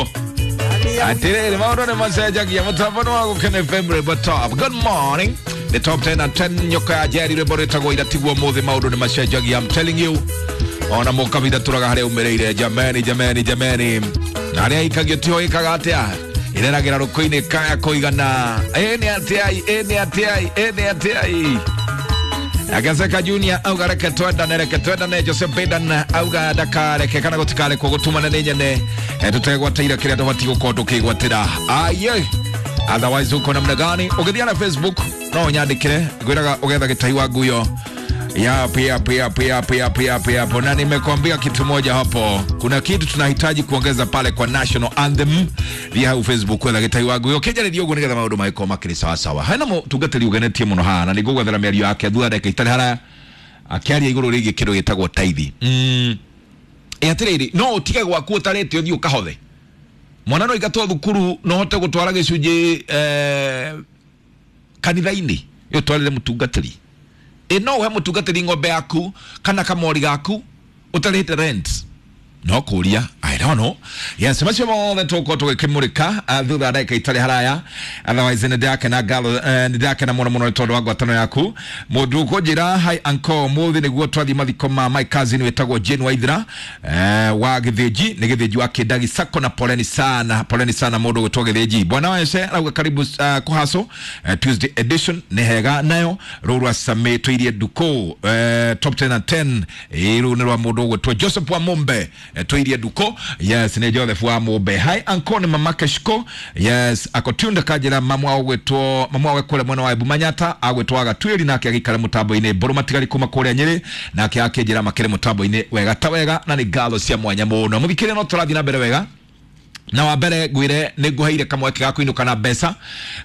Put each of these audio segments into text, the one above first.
Tiguo atiriri maundu ni macenjagia mutambo ni wa Gukena FM rwimbo top. Good morning, the top 10 and 10 nyoka ya Njeri rwimbo rwitagwo iratigwo muthi maundu ni macenjagia. I'm telling you, ona mukabitha turaga haria umireire. Jameni, jameni, jameni, na aria ikagio tiho ikaga atia ireragira ruko-ini kaya kuigana. Ĩ nĩ atiai, ĩ nĩ atiai, ĩ nĩ atiai. Agaseka Junior auga reke twendane, reke twendane. Joseph Biden auga ndakareke kana gutikarekwo gutumana nĩ nyene tutegwatĩire kĩrĩa tũbatiĩ gũkorwo tũkĩgwatĩra. Aye, otherwise uko namna gani? Ũgĩthiĩ na Facebook no ũnyandĩkĩre, ngwĩraga ũgetha gĩtai wa nguyo. Yap, yap, yap, yap, yap, yap, yap. Na nimekwambia kitu moja hapo, kuna kitu tunahitaji kuongeza pale kwa national anthem. Thiĩ hau Facebook wetha gĩtai wa nguyo kĩnjarĩrie ũguo nĩgetha maũndũ magĩkorwo makĩrĩ sawa sawa. Hena mũtungatĩri ũgenetie mũno haha na nĩngũgwethera mĩario yake thutha ndagĩka itarĩ haraya akĩaria igũrũ rĩgiĩ kĩndũ gĩtagwo taithi. Ĩ atĩrĩrĩ, no ũtige gwaku ũtarĩte ũthiĩ ũkahothe mwana no ingatwo thukuru no hote gũtwara gĩcunjĩ kanitha-inĩ ĩ ũtwarĩre mũtungatĩri. Ĩ no ũhe mũtungatĩri ng'ombe yaku kana kamori gaku ũtarĩte rent? No kũria, I don't know. Yes, macio mothe tũgũkorwo tũgĩkĩmũrĩka thutha wa ndagĩka itarĩ haraya. Otherwise nĩ ndĩrakena ngatho, nĩ ndĩrakena mũno mũno nĩ tondũ wa ngwatanĩro yaku. Mũndũ ũkũnjĩra hi uncle, mũthĩ nĩguo twathiĩ mathiko ma my cousin wĩtagwo Jane Waithira wa Gĩthĩnji, nĩ Gĩthĩnji wa Kĩndagi Sacco, na poleni sana, poleni sana mũndũ ũgwĩtwo Gĩthĩnji. Bwana wese arauga karibu kũhaco Tuesday edition nĩ hega nayo rũu rwa Same tũirie nduko top 10 and 10. Rũu nĩ rwa mũndũ ũgwĩtwo Joseph wa Mumbe, tũirie nduko. Yes, nĩ Joseph wa Mumbe. Hi uncle, nĩ mama Keshko. Yes, akotunda kanjĩra mamu wao ũgwĩtwo mamu wao kũrĩa mwena wa Embu Manyata agwĩtwo Agatwĩri nake agĩikara mũtambo-inĩ Mbũrũ Matigari kuma kũrĩa Nyĩrĩ nake akĩnjĩra makĩrĩ mũtambo-inĩ wega ta wega na nĩ ngatho cia mwanya mũno. Mũthikĩrĩria, no tũrathiĩ na mbere wega na wa mbere ngwire nĩ ngũheire kamweke ga kũinũka na mbeca.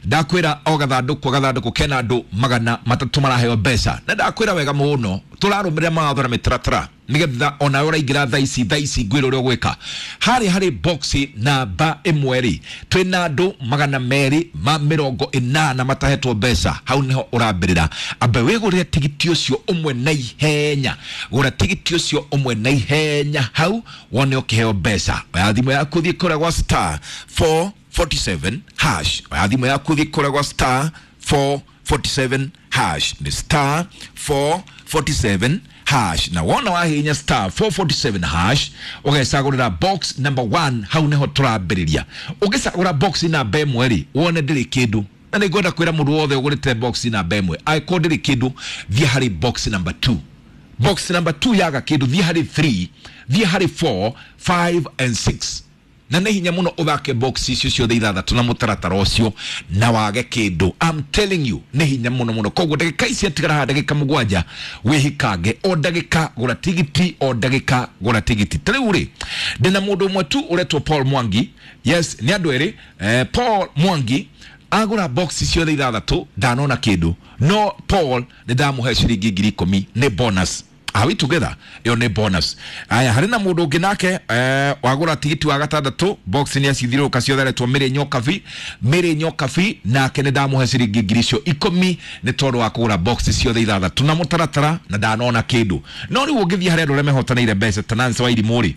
Ndakwĩra o gathandũkũ gathandũkũ kena andũ 300 maraheo mbeca, na ndakwĩra wega mũno tũrarũmĩrĩra mawatho na mĩtaratara nĩgetha onawe ũraingĩra thaa ici, thaa ici ngwĩra ũrĩa ũgwĩka harĩa harĩ box namba 1 rĩ, twĩna andũ 280 matahetwo mbeca. Hau nĩho ũrambĩrĩra, ambe wĩgũrĩre tigiti ũcio ũmwe na ihenya. Gũra tigiti ũcio ũmwe na ihenya hau wone ũkĩheo mbeca. Oya thimũ yaku thiĩ kũrĩa gwa star 447 hash. Oya thimũ yaku thiĩ kũrĩa gwa star 447 hash, nĩ star 447 hash, na wona wahihinya star 447 hash ũgecagũrĩra box number 1. Hau nĩho tũrambĩrĩria. Ũngĩcagũra box namba 1 rĩ, wone ndĩrĩ kĩndũ, na nĩ ngwenda kwĩra mũndũ wothe ũgũrĩte box namba 1, angĩkorwo ndĩrĩ kĩndũ, thiĩ harĩ box number 2. Box number 2 yaga kĩndũ, thiĩ harĩ 3, thiĩ harĩ 4, 5 and 6, na nĩ hinya mũno ũthake box icio ciothe ithathatũ na mũtaratara ũcio na wage kĩndũ. I'm telling you, nĩ hinya mũno mũno. Koguo ndagĩka ici atigara haha, ndagĩka 7, wĩhikange o ndagĩka gũra tigiti, o ndagĩka gũra tigiti. Ta rĩu rĩ, ndĩna mũndũ ũmwe tu ũretwo Paul Mwangi. Yes, nĩ andũ erĩ. Paul Mwangi agũra box ciothe ithathatũ ndanona kĩndũ, no Paul nĩ ndamũhe ciringi 10,000, nĩ bonus. Are we together? Ĩyo nĩ bonus. Aya, harĩ na mũndũ ũngĩ nake wagũra tigiti wa gatandatũ, box nĩ acithiũrũrũka ciothe, aretwo Mĩrĩ Nyokabi, Mĩrĩ Nyokabi, nake nĩ ndamũhe ciringi ngiri icio 10 nĩ tondũ wa kũgũra box ciothe ithathatũ na mũtaratara na ndanona kĩndũ. No rĩu ũngĩthiĩ harĩ andũ arĩa mehotanĩire mbeca ta Nancy Wairimũ rĩ,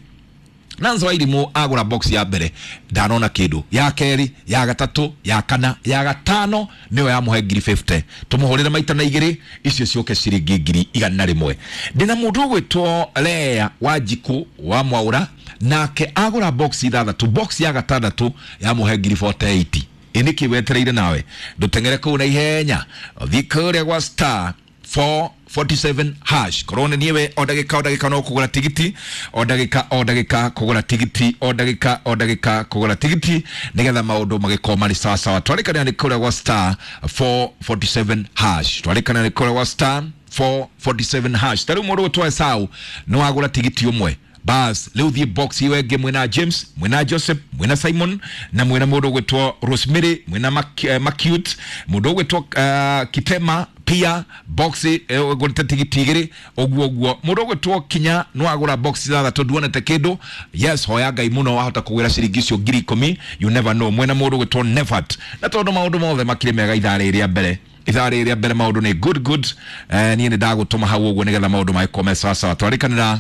Nancy Wairimũ agũra box ya mbere ndanona kĩndũ, ya kerĩ, ya gatatũ, ya kana, ya gatano nĩyo yamũhe ngiri 50. Tũmũhũrĩre maita na igĩrĩ, icio ciũke ciringi 100,000. Ndĩna mũndũ ũgwĩtwo Lea Wanjikũ wa Mwaũra, nake agũra box ithathatũ, box ya gatandatũ yamũhe ngiri 48. Ĩ nĩkĩ wetereire nawe ndũteng'ere kũu na ihenya ũthiĩ kũrĩa gwa star 447 hash? Korwo nĩ niĩwe, o ndagĩka o ndagĩka no kũgũra tigiti, o ndagĩka o ndagĩka kũgũra tigiti, o ndagĩka o ndagĩka kũgũra tigiti nĩgetha maũndũ magĩkorwo marĩ sawa sawa. Twarĩkanĩra nĩ kũrĩa gwa star 447 hash, twarĩkanĩra nĩ kũrĩa gwa star 447 hash. Ta rĩu mũndũ ũgwĩtwo Esau nĩ wagũra tigiti ũmwe, bas rĩu thiĩ box ĩyo ĩngĩ. Mwĩna James, mwĩna Joseph, mwĩna Simon na mwĩna mũndũ ũgwĩtwo Rosemary, mwĩna Macute, mũndũ ũgwĩtwo Kitema pia box ũgũrĩte tigiti igĩrĩ ũguo ũguo. Mũndũ ũgwĩtwo Kinya nĩ wagũra box ithathatũ nduonete kĩndũ. Yes, hoya Ngai mũno wahota kũgwĩra ciringi icio 10,000, you never know. Mwena mũndũ ũgwĩtwo Nevat, na tondũ maũndũ mothe makĩrĩ mega ithaa rĩrĩ rĩa mbere, ithaa rĩrĩ rĩa mbere maũndũ nĩ good good. Niĩ nĩ ndagũtũma hau ũguo nĩgetha maũndũ magĩkorwo me sawa sawa. Twarĩkanĩra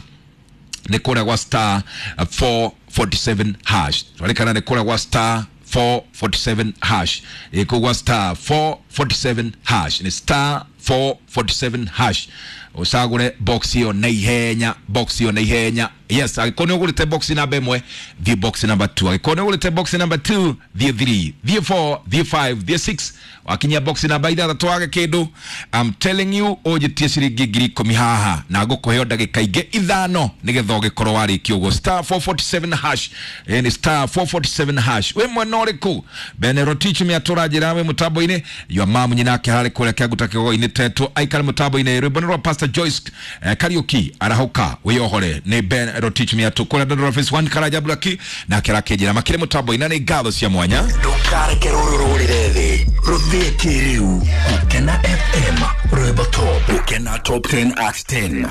Nĩ kũrĩa gwa star 447 hash. Twarĩkana nĩ kũrĩa gwa star 447 hash, ĩkũ gwa star 447 hash, nĩ star 447 hash, ũcagũre box ĩyo na ihenya, box ĩyo na ihenya. Yes, angĩkorwo nĩ ũgũrĩte box namba 1, thiĩ box namba 2. Angĩkorwo nĩ ũgũrĩte box namba 2, thiĩ 3, thiĩ 4, thiĩ 5, thiĩ 6. Wakinyia box namba 6 wage kĩndũ, I'm telling you, ũnjĩtie ciringi 10,000 haha na ngũkũheo ndagĩka ingĩ 5 nĩgetha ũgĩkorwo warĩkia ũguo. Star 447 hash, nĩ star 447 hash. Wĩ mwena ũrĩkũ? Benerotich mĩatũra njĩra wĩ mũtambo-inĩ, your mom nyinake harĩ kũrĩa kĩanguta kĩgogo-inĩ tetwo aikare mũtambo-inĩ. Rwĩmbo nĩ rwa Pastor Joyce Kariuki, arahũka wĩyohore, nĩ Ben Rotich mĩatũ kũrĩa Dandora Phase 1 Karanja Blaki nake arakĩnjĩra makĩrĩ mũtambo-inĩ. Nĩ ngatho cia mwanya. Ndũkareke rũrũ rũrĩre thĩ rũthĩe kĩrĩu. Gũkena FM, rwĩmbo top. Gũkena top 10 at 10.